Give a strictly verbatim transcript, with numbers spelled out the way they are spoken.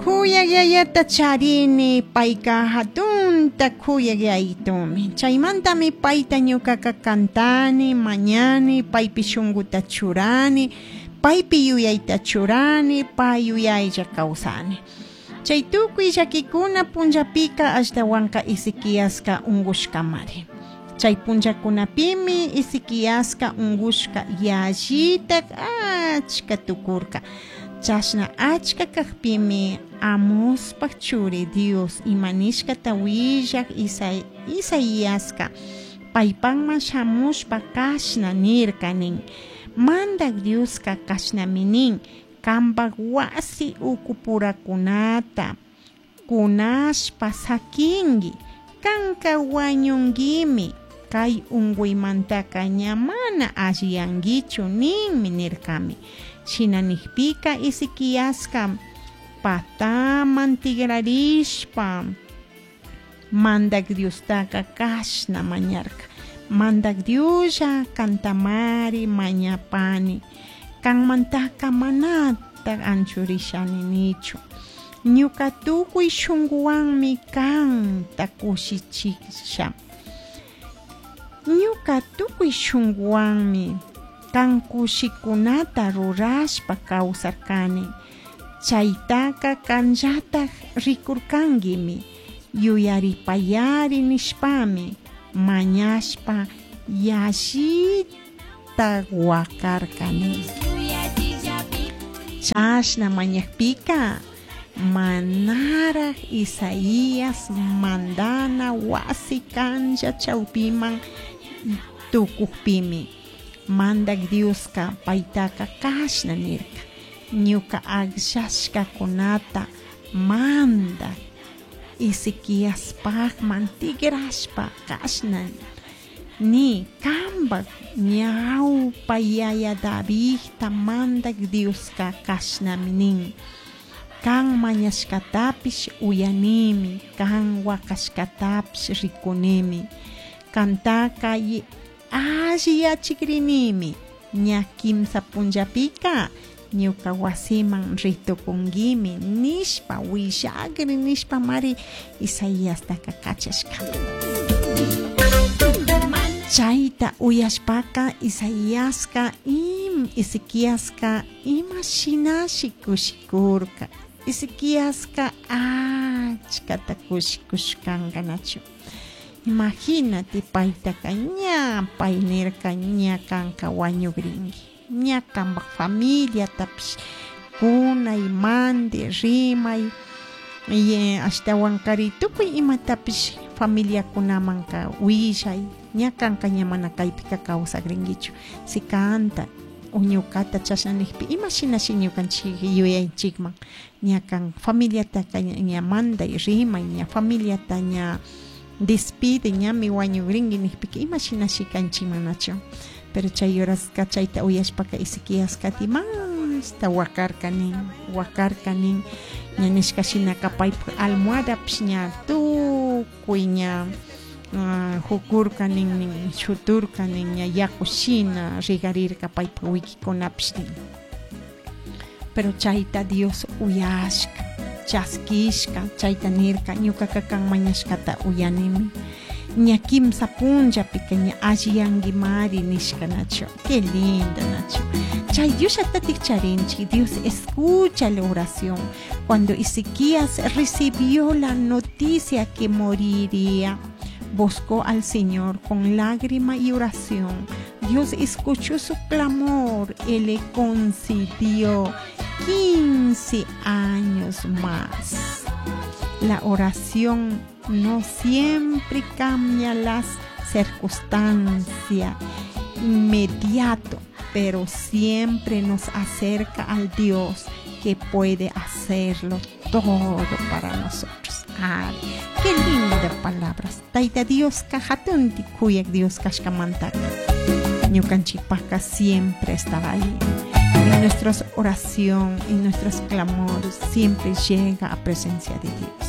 Kuyaq yayata charini, payka hatunta kuyaq yayitumi. Chaymantami payta ñukaka kantani, mañani, paypi shunkuta churani, paypi yuyayta churani, pay yuyaylla kawsani. Chay tukuy llakikuna punllapika ashtawanka Ezequiaska unkushkamari. Chay punllakunapimi Ezequiaska unkushka yallitak achka tukurka. Chashna achka kakpimi Amospaj churi Dios ima nishkata willak Isaiaska paypakman shamushpa kashna nirka nin: Mandak Dioska kashnami nin: Kanpak wasi ukupurakunata kunashpa sakinki, kanka wañunkimi, kay unkuymantaka ña mana alliyankichu ninmi nirkami. Shina nikpika Ezequiaska pataman tigrarishpa Mandak Diostaka kashna mañarka: Mandak Dioslla kantamari mañapani, kanmantaka manatak anchurishani nichu. Ñuka tukuy shunkuwanmi kanta kushichisha. Ñuka tukuy shunkuwanmi kan kushikunata rurashpa kawsarkani. Chaytaka kanllatak rikurkankimi, yuyaripayari nishpami mañashpa yallita wakarkani. Chashna mañakpika manaraj Isaías mandana wasi kanlla chawpiman tukukpimi Mandak Dioska paytaka kashna nirka: Ñuka akllashkakunata mandak Ezequiaspakman tigrashpa kashna ni: Kanpak ñawpa yaya Davidta Mandak Dioska kashnami nin: Kan mañashkatapish uyanimi, kan wakashkatapish rikunimi, kantaka alliyachikrinimi. Ña kimsa punllapika ñuka wasiman ritukunkimi nishpa willakri nishpa mari Isaiastaka kachashka. Chayta uyashpaka Isaiaska im Ezequiaska ima shinashi kushikurka. Ezequiaska achkata kushikushkanka nachu. Imagínate paytaka ña pay nirka ña kanka wañukrinki, ña kanpak familiatapish kunay mandi rimay ashtawankari tukuy imatapish familiakunamanka willay, ña kanka ña mana kaypika kawsakrinkichu. Si kanta o ñukata chashna nikpi ima shinashi ñukanchik yuyaychikman, ña kan familiataka ña manday rimay, ña familiata ña despide, ñami wañukrinki nikpika ima shinashi kanchikman nachu. Pero chay horaska chayta uyashpaka Ezequiaska dimasta wakarka nin, wakarka nin, ña nishka shinaka paypak almohadapish ña tukuy ña jukurka nin, nin shuturka nin, ña yaku shina rigarirka paypak wikikunapish nin. Pero chayta Dios uyashka, chaskishka, chayta nirka: ñukaka kan mañashkata uyanimi, ña kimsa punllapika ña alliyankimari nishka nachu. Qué lindo nachu. Chay Diosllatatik charinchik. Dios escucha la oración. Cuando Ezequías recibió la noticia que moriría, buscó al Señor con lágrima y oración. Dios escuchó su clamor y le concedió quince años más. La oración no siempre cambia las circunstancias inmediato, pero siempre nos acerca al Dios que puede hacerlo todo para nosotros. Ay, qué lindas palabras. Tayta Dioska hatunti kuyak Dios kashkamantaka ñukanchikpaka siempre estará ahí. En nuestra oración, en nuestros clamores, siempre llega a presencia de Dios.